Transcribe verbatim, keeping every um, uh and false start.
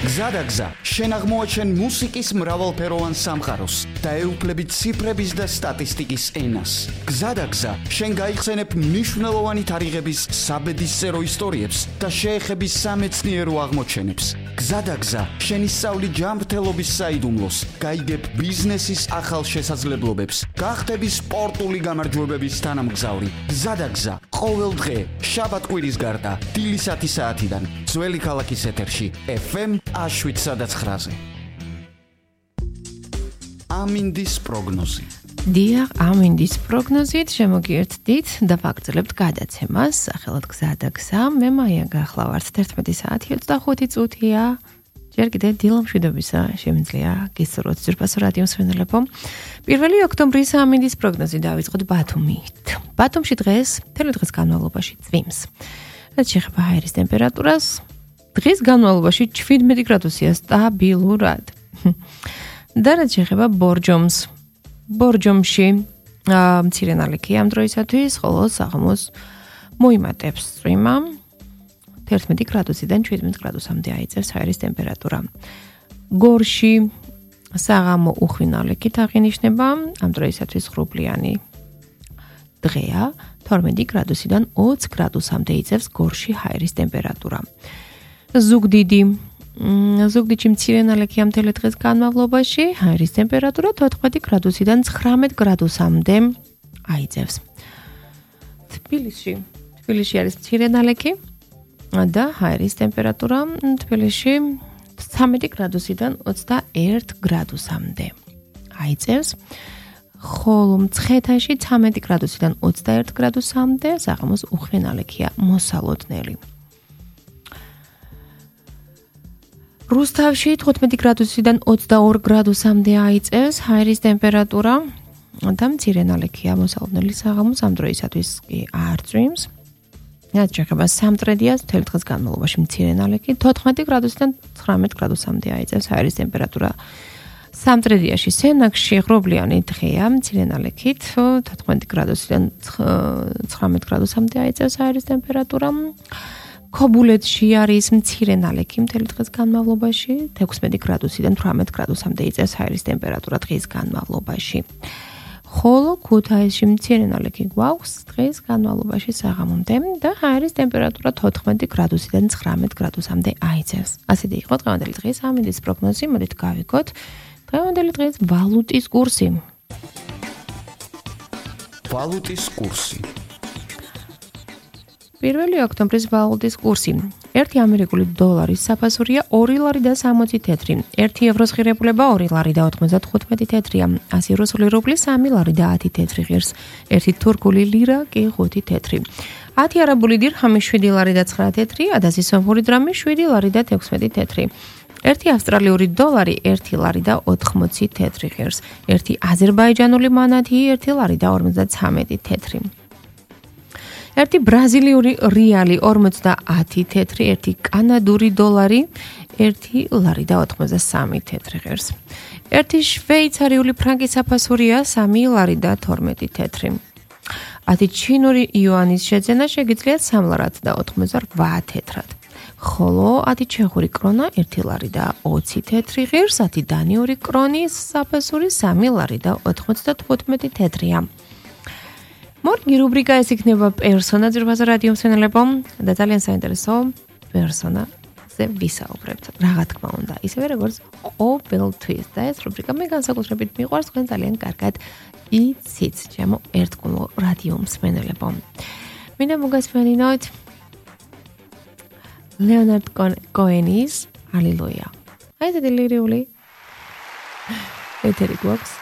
გზადაგზა, შენ აღმოაჩენ მუსიკის მრავალფეროვან სამყაროს და ეუფლები ციფრების და სტატისტიკის ენას. გზადაგზა, შენ გაიხსენებ მნიშვნელოვანი თარიღების საბედისწერო ისტორიებს და შეეხები სამეცნიერო აღმოჩენებს. გზადაგზა, შენ ისწავლი ჯანმრთელობის საიდუმლოს, გაიგებ ბიზნესის ახალ შესაძლებლობებს, გახდები სპორტული გამარჯვებების თანამგზავრი. გზადაგზა, ყოველ დღე, შაბათ-კვირის გარდა, დილისათი საათიდან, ძველი ქალაქის ეთერში, ეფ ემ შვიდ ცხრაზე. ამინდის პროგნოზი. დიახ, ამინდის პროგნოზით შემოგიერთდით და ვაგრძელებთ გადაცემას, სახელად გზადაგზა. მე მაია გახლავართ თერთმეტი საათი ოცდახუთი წუთია. ჯერ კიდევ დილამშვიდობისა შემიძლია გისურვოთ ძვირფასო რადიო მსმენელებო. პირველი ოქტომბრის ამინდის პროგნოზი დავიწყოთ ბათუმით. ბათუმში დღეს, მთელი დღის განმავლობაში წვიმს. რაც შეეხება ჰაერის ტემპერატურას, დღის განმავლობაში შვიდმეტი გრადუსია სტაბილურად. და რაც შეეხება ბორჯომს, ბორჯომში მცირე ნალექია ამ დროისათვის, ხოლო საღამოს მოიმატებს წვიმა. თერთმეტი გრადუსიდან შვიდმეტ გრადუსამდე აიწევს ჰაერის ტემპერატურა. გორში საღამო უხვი ნალექით აღინიშნება, ამ დროისათვის ღრუბლიანი დღეა, თორმეტი გრადუსიდან ოცი გრადუსამდე იწევს გორში ჰაერის ტემპერატურა. ზუგდიდი ზუგდიდში მცირე ნალექია მთელი დღის განმავლობაში, ჰაერის ტემპერატურა თოთხმეტი გრადუსიდან ცხრამეტ გრადუსამდე აიწევს. თბილისში თბილისში არის მცირე ნალექი და ჰაერის ტემპერატურა თბილისში ცხრამეტი გრადუსიდან ოცდაერთი გრადუსამდე აიწევს. ხოლო მცხეთაში ცხრამეტი გრადუსიდან ოცდაერთი გრადუსამდე საღამოს უხვი ნალექია მოსალოდნელი. რუსთავში თხუთმეტი გრადუსიდან ოცდაორი გრადუსამდე აიწევს ჰაერის ტემპერატურა და მცირე ნალექია მოსალოდნელი საღამოს, ამ დროისათვის კი არ წვიმს. რაც შეეხება სამტრედიას, მთელი დღის განმავლობაში მცირე ნალექი თოთხმეტი გრადუსიდან ცხრამეტ გრადუსამდე აიწევს ჰაერის ტემპერატურა. სამტრედიაში სენაკში ღრუბლიანი დღეა, მცირე ნალექით თოთხმეტი გრადუსიდან ცხრამეტ გრადუსამდე აიწევს ჰაერის ტემპერატურა. ქობულეთში არის მცირე ნალექი მთელი დღის განმავლობაში, ექვსმეტი გრადუსიდან თვრამეტ გრადუსამდე იწევს ჰაერის ტემპერატურა დღის განმავლობაში. ხოლო ქუთაისში მცირე ნალექი გვაქვს დღის განმავლობაში საღამომდე და ჰაერის ტემპერატურა თოთხმეტი გრადუსიდან ცხრამეტ გრადუსამდე აიწევს. ასეთი იყო დღევანდელი დღის ამინდის პროგნოზი. მოდით გავიგოთ დღევანდელი დღის ვალუტის კურსი. ვალუტის კურსი. პირველი ოქტომბრის ვალუტის კურსი. ერთი ამერიკული დოლარის საფასურია ორი ლარი და სამოცი თეთრი. ერთი ევროს ღირებულება ორი ლარი და ოცდათხუთმეტი თეთრია. ასი რუსული რუბლი სამი ლარი და ათი თეთრი ღირს. ერთი თურქული ლირა კი ხუთი თეთრი. ათი არაბული დირჰამი შვიდი ლარი და ცხრა თეთრი. ათასი სომხური დრამი შვიდი ლარი და თექვსმეტი თეთრი. ერთი ავსტრალიური დოლარი ერთი ლარი და ოთხმოცი თეთრი ღირს. ერთი აზერბაიჯანული მანათი ერთი ლარი და ორმოცდაცამეტი თეთრი. ერთი ბრაზილიური რეალი ორმოცდაათი თეთრი, ერთი კანადური დოლარი ერთი ლარი და ოთხმოცდასამი თეთრი ღირს. ერთი შვეიცარიული ფრანკი საფასურია სამი ლარი და თორმეტი თეთრი. ათი ჩინური იუანის შეძენა შეგიძლიათ სამი ლარი და ოცდაოთხი თეთრად. ხოლო ათი ჩეხური კრონა ერთი ლარი და ოცი თეთრი ღირს, ათი დანიური კრონის საფასური სამი ლარი და ოცდათხუთმეტი თეთრია. მორგი რუბრიკა ეს იქნება პერსონა ძვირფასო რადიო მსმენელებო და ძალიან საინტერესო პერსონაზე ვისაუბრებთ. რა თქმა უნდა, ისევე როგორც ყოველთვის და ეს რუბრიკა მე განსაკუთრებით მიყვარს, თქვენ ძალიან კარგად იცით, ჩემო ერთგულო რადიო მსმენელებო. მინდა მოგასმენინოთ ლეონარდ კოენის ალილუია. აი ეს დელირიული ეთერი გვაქვს.